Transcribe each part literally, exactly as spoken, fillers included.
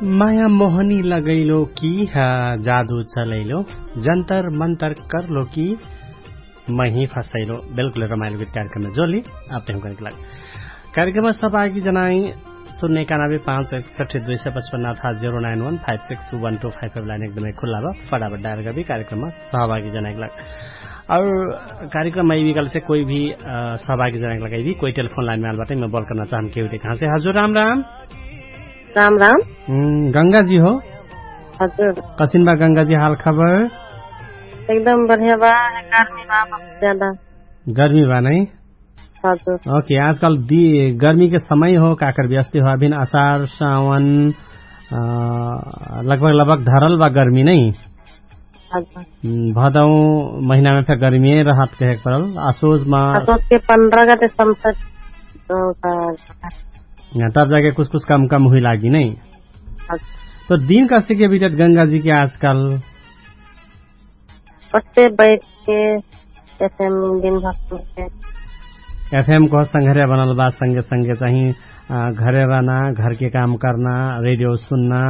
माया मोहनी लगैलो कि जादु चलैलो, जन्तर मन्तर करलो कि मही फसैलो। बेल्कुल रमाइलो गीत कार्यक्रममे जोली आपते हुँकरक लाग। कार्यक्रममे सहभागी जनाइ सुन्ने एकानबे पाँच एकसठ्ठी दुई सय पचपन्न अथवा zero nine one five six two one two five five line एकदमै खुल्ला बा। फटाफट डायर गबी कार्यक्रममे सहभागी जनाइक लाग। अउर कार्यक्रममे अइबी कहलेसे कोइ भी सहभागी जनाइक लाग अइबी कोइ टेलिफोन लाइनमे आल बाटै, मै बोल करना चाहम केहु देखा से। हजुर राम राम। राम राम। गंगा जी हो? हजुर। कसिन बा गंगा जी हाल खबर? एकदम बढिया बा। गर्मी बा बहुत ज्यादा। गर्मी बा नै? हजुर। ओके, आजकल गर्मी के समय हो काकर व्यस्ती हो अभिन असार सावन लगभग लगभग धरल बा गर्मी नै? भदौ महिनामे फेर गर्मिए रहत कहेक परल। असोजमा असोज के पन्ध्र गते संसद। तब जाके कुछ कुछ कम कम हुइ लागि नै। त दिन कस्ते के बिटत गंगाजी के आजकाल? ओस्ते बैठ के एफएम दिन भर सुनते। एफएम को संघर्या बनल बा संगे संगे चाहिँ घरे रहना, घरके काम करना, रेडियो सुन्ना,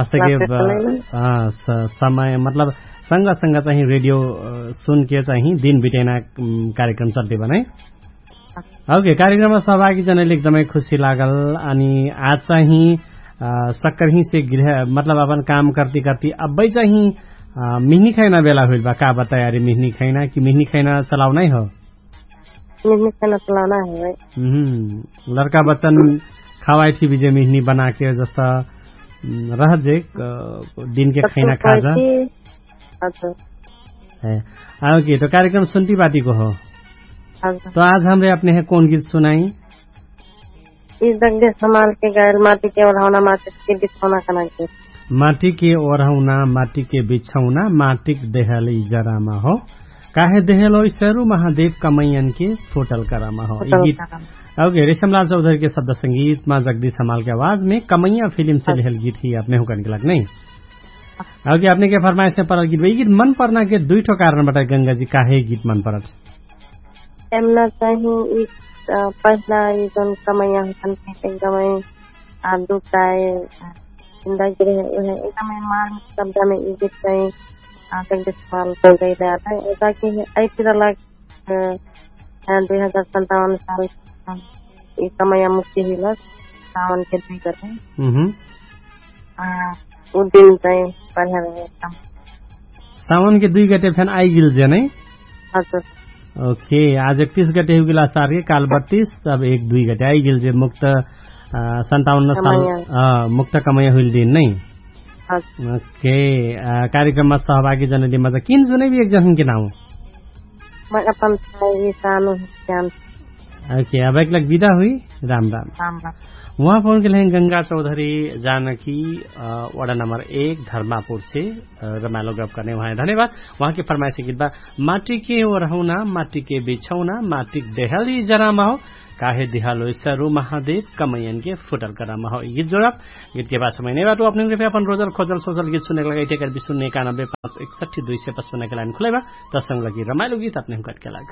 अस्तके समय मतलब संग संग चाहिँ रेडियो सुनके चाहिँ दिन बिटैना कार्यक्रम चल्ते बनै। ओके, कार्यक्रममा सहभागी जनैले एकदमै खुशी लागल। अनि आज चाहिँ सक्करहिसे गृह मतलब अपन काम कर्ति कर्ति अब्बै चाहिँ मिहनी खैना बेला हुइल बा का बा तयारी मिहनी खैना कि मिहनी खैना चलाउ नै हो? मिहनी खैना चलाउ नै हो। लड़का बच्चन खावाइ थी बिजे मिहनी बनाके जस्ता रहत जे दिनके खैना खाजा। आउ कि तो कार्यक्रम सुन्ती बाटी को हो। तो आज हमरे अपने है कौन गीत सुनाई? ई जगदीश हमाल के गायल माटी के ओढ़ौना माटी के बिछौना कना के। माटी के ओढ़ौना माटी के बिछौना माटी के देहल ई जरामा हो। काहे देहल हो ईश्वरु महादेव कमैयन के फोटल करामा हो। ई गीत आउ के रेशमलाल चौधरी के शब्द संगीत मा जगदीश हमाल के आवाज में कमैया फिल्म से लेहल गीत ही अपने हुकन के लग नहीं। आउ कि अपने के फरमाइश में परल गीत बा ई गीत मन परना के दुई ठो कारण बताए गंगा जी काहे गीत मन परत? एमना चाहिँ ई पहिला ई जौन कमैया हुकन के एकदमै दुख आए जिन्दगी रहे उहे एकदमै मार्मिक शब्दमे ई गीत चाहिँ आजक देखभाल कर गई रहा है ऐसा कि ऐसी रहला दुई हजार सन्तावन साल ई कमैया मुक्ति हुइलक सावन के दुई गते। उ दिन चाहिँ बढ़िया रहे एकदम। सावन के दुई गते फेन आइगिल जे नै? हजुर। ओके, आज एकतीस गते हुइगिल असार के काल बत्तीस, अब एक दुई गते आइगिल जे मुक्त सन्तावन्न साल मुक्त कमैया हुइल दिन नै? ओके। कार्यक्रममा सहभागी जनैली मजा किन जुनै भी एक जन के नाउ? ओके, अब एकलक बिदा हुइ। राम राम। उहाँ पहुँचके लहे गंगा चौधरी जानकी वडा नम्बर एक धर्मापुर छे। रमाइलो गफ करने उहाँ धन्यवाद। उहाँके फरमाइसे गीत बा माटी के ओरहौना माटी के बिछौना माटी के देहल ई जरामा हो। काहे दिहालो ईश्वरु महादेव कमैयन के फुटल करामा हो ई गीत जोडब। गीत के बाद समय नै बाटो अपने के अपन रोजल खोजल सोजल गीत सुने के लगे इठे कर भी सुन्ने एकानब्बे पाँच एकसठी दुई सय पचपन्न के लाइन खुले बा। तब संग लगी रमाइलो गीत अपने हुकट के लाग।